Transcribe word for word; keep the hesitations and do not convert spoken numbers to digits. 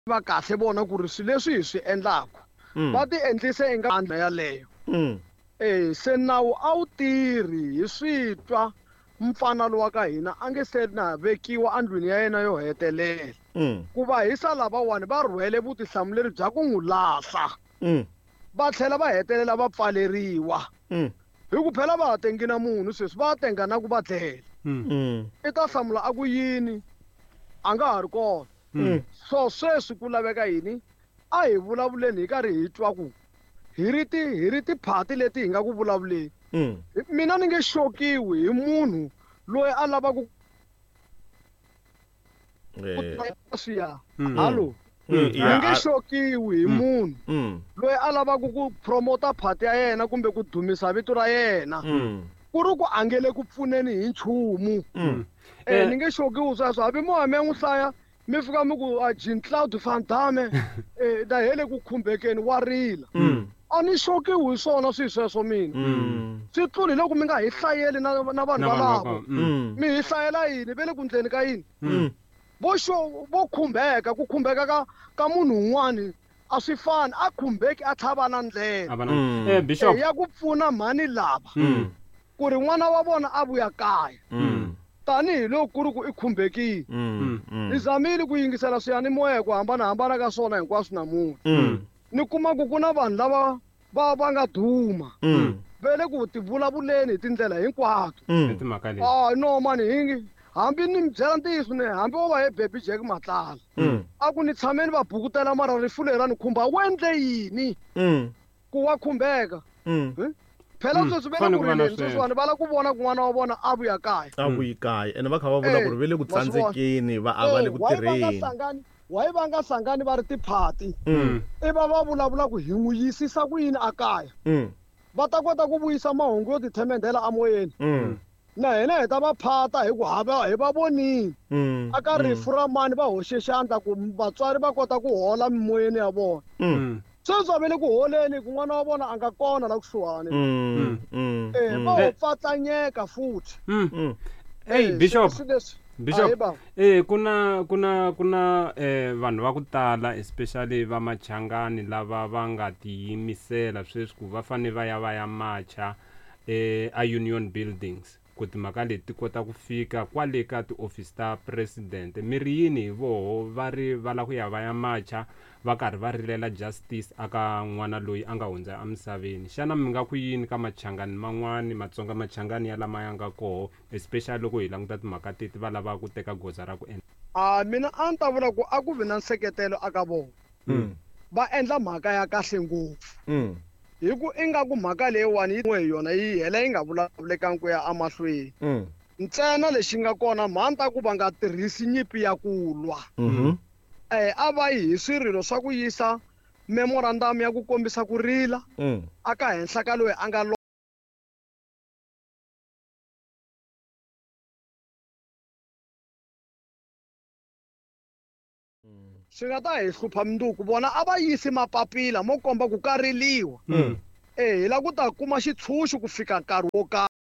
Va kahle vona ku ri swilo leswi hi swi endlaku Mm. va ti endlise i nga ndlela yaleyo. Mm. E se nawu a wu tirhi hi swi twa mfana lowa ka hina a nge se na vekiwa endlwini ya yena yo hetelela. Mm. Ku va hisa lavawani va rhwele vutihlamuleri bya ku n'wi lahla. Mm. Va tlhela va hetelela va pfaleriwa. Mm. Hi ku phela va ha tengi na munhu sweswi va tenga na ku va dlela. Mm. Mm. I ta hlamula a ku yini a nga ha ri kona. Mm. So sweswi ku laveka yini a hi vulavuleni hi karhi hi twa ku hi ri ti hi ri tiphati leti hi nga ku vulavuleni. Mm. Mina ni nge xokiwi hi munhu loyi a lavaka ku Eh. swiya. Mm. Hallo. Mm. Ni Yeah, nge a- xokiwi hi munhu Mm. loyi a lavaka ku promota phati ya yena kumbe ku dumisa vito ra yena. Mm. Ku ri ku a nge le ku pfuneni hi nchumu. Mm. Eh Eh. ni nge xokiwi sweswo hambi mo ya mi ya n'wi hlaya mi fika mi ku a Jean Claude Van Damme eh na hele ku khumbekeni wa rila. Mm. A ni xokiwi hi swona swilo sweswo mina. Mm. Swi tluli loko mi nga hi hlayeli na na vanhu Na vanhu va valavo. kona. Mm. Mm. Mi hi hlayela yini ve le ku ndleni ka yini? Mm. Vo xo vo khumbeka ku khumbeka ka ka munhu un'wani a swi fani a khumbeki a tlhava na ndlela. A va na Mm. eh bishop Eh, ya ku pfuna mhani lava Mm. ku ri n'wana wa vona a vuya kaya Mm. tanihi loko ku ri ku i khumbekile. Mm. Ni Mm. zamile ku yingisela swiyanimoya hi ku hambanahambana ka swona hinkwaswo namuntlha. Mm. Ni kuma ku ku na vanhu lava va va nga duma Mm. va le ku ti vulavuleni hi tindlela hinkwato. Hi Mm. timhaka leti. Ah no mani hi hambi ni mi byela ntiyiso ne hambi wo va he Baby Jack Matlala Mm. a ku ni tshameni va bukutela mara rifu leri ra ni khumba wu endle yini Mm. ku wa khumbeka. Mm. Phela Mm, sweswi va le fanele ku ku va na rileni sweswo. sweswiwani va lava ku vona ku n'wana wa vona a vuya kaya. A vuyi kaya ene va kha va vula Eh, ku ri ve le ku ma swi vona. tsandzekeni va a va le Eh, ku why va nga tirheni. hlangani why va nga hlangani va ri tiphati Mm. i va va vulavula ku hi n'wi yisisa ku yini a kaya Mm. va ta kota ku vuyisa mahungu yo tithemendhela emoyeni. Mm. Na hina hi ta va phata hi ku ha va hi va vonile Mm. aka rifu ra mani va hoxe xandla ku vatswari va kota ku hola mimoyeni ya vona. Mm. Mm. Sweswi va le ku holeni ku n'wana wa vona a nga kona la kusuhani. Mm. Mm. Eh Mm. va ho pfatlanyeka futhi. Mm. Mm. Hey Eh, bishop swi leswi Bishop Ahee, bava. eh kuna kuna kuna eh vanhu va ku tala especially va machangani lava va nga tiyimisela sweswi ku va fane va ya va ya macha eh a Union Buildings ku timhaka leti ti kota ku fika kwale ka tiofisi ta president mi ri yini hi voho va ri va lava ku ya va ya macha va karhi va rilela justice aka n'wana loyi a nga hundza emisaveni xana mi nga ku yini ka machangani man'wani matsonga machangani ya lama ya nga koho especially loko hi languta timhaka teti va lava ku teka goza ra ku endla A mina a ni ta vula ku a ku vi na nseketelo aka vona. Mm. Va endla mhaka ya kahle ngopfu. Mm. Hi ku ingaku mhaka leyiwani yi hi yona yi hela yi nga vulavulekangi ku ya emahlweni. Mm. Ntsena lexi nga kona mhani ta ku va nga tirhisi nyimpi ya ku lwa. Mhm. Eh a va yi hi swirilo swa ku yisa memorandum ya ku kombisa ku rila Mm. aka henhla ka loyi a nga lova. Swi nga ta hi hlupha mundzuku vona a va yisi mapapila mo komba ku ka riliwa. Mm. Eh hi lava ku ta kuma xitshunxo ku fika nkarhi wo karhi.